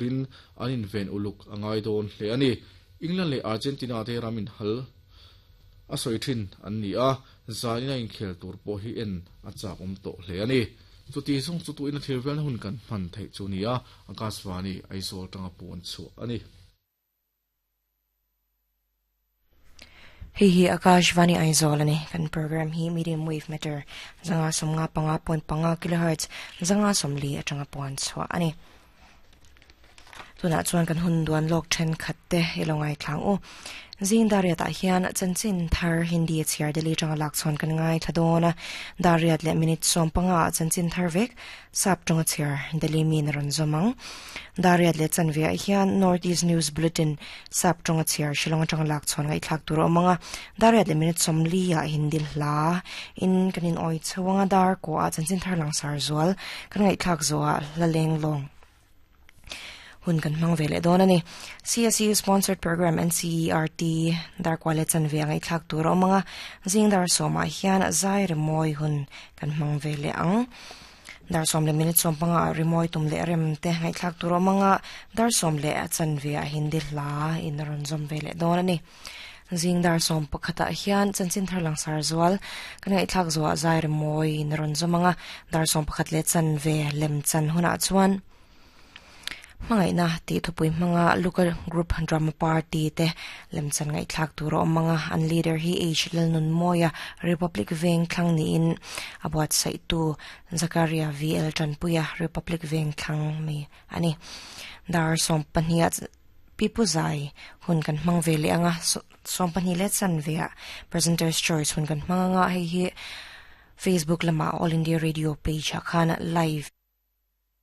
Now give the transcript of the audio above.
turin an inven uluk a ngai dawn hle a ni. England leh Argentina te ram inhal a sawi thin an ni a, zanin a inkhel tur pawh hi en a chak awm tawh hle a ni. Chuti zawng chu tuina thil velna hun kan hman theih chu ni a, Akashvani Aizawl tanga puan chhuah a ni. Hei hi Akashvani Aizawl a ni. Kan program hi medium wave meter 155.5 kilohertz 540 atanga puan chhuah a ni. Tunah chuan kan hun duan lawk thenkhat te i lo ngaithlang u. Zing Dariat ah hian chanchin thar Hindi a chhiar Delhi atanga lak chhawn kan ngaithla dawn a. Dariat leh minute 15 ah chanchin thar vek Sap tawnga chhiar Delhi mi in a rawn zawm ang. Dariat leh chanve ah hian North East News Bulletin Sap tawnga chhiar Shillong atanga lak chhawn ngaihthlak tur a awm ang a. Dariat leh minute 40 ah Hindi hla in kan in awi chho ang a, dar kawh ah chanchin thar langsar zual kan ngaihthlak zawh ah hla leng lawng hun kan hmang ve leh dawn a ni. CSU sponsored program NCERT darkua leh chanve a ngaihthlak tur a awm ang a, zing dar sawmah hian zai rimawi hun kan hmang ve leh ang. Dar sawm leh minute 15 ah rimawi tum leh rem te ngaihthlak tur a awm ang a, dar sawm leh a chanve ah Hindi hla in a rawn zawm ve leh dawn a ni. Zing dar 11 ah hian chanchin thar langsar zual kan ngaihthlak zuah zai rimawi in a rawn zawm ang a, dar 11 leh chanve lem chan hunah chuan hmangaihna tih thupui hmanga local group drama party te lem chan ngaihthlak tur a awm ang a, an leader hi H Lalnunmawia Republic Veng thlang niin a buatsaihtu Zakaria VL Tanpuia Republic Veng thlang mi a ni. Dar 12 ah Pipu Zai hun kan hmang ve leh ang a, 12 leh chanve ah Presenter's Choice hun kan hmang ang a, hei hi Facebook lamah All India Radio page ah khan live.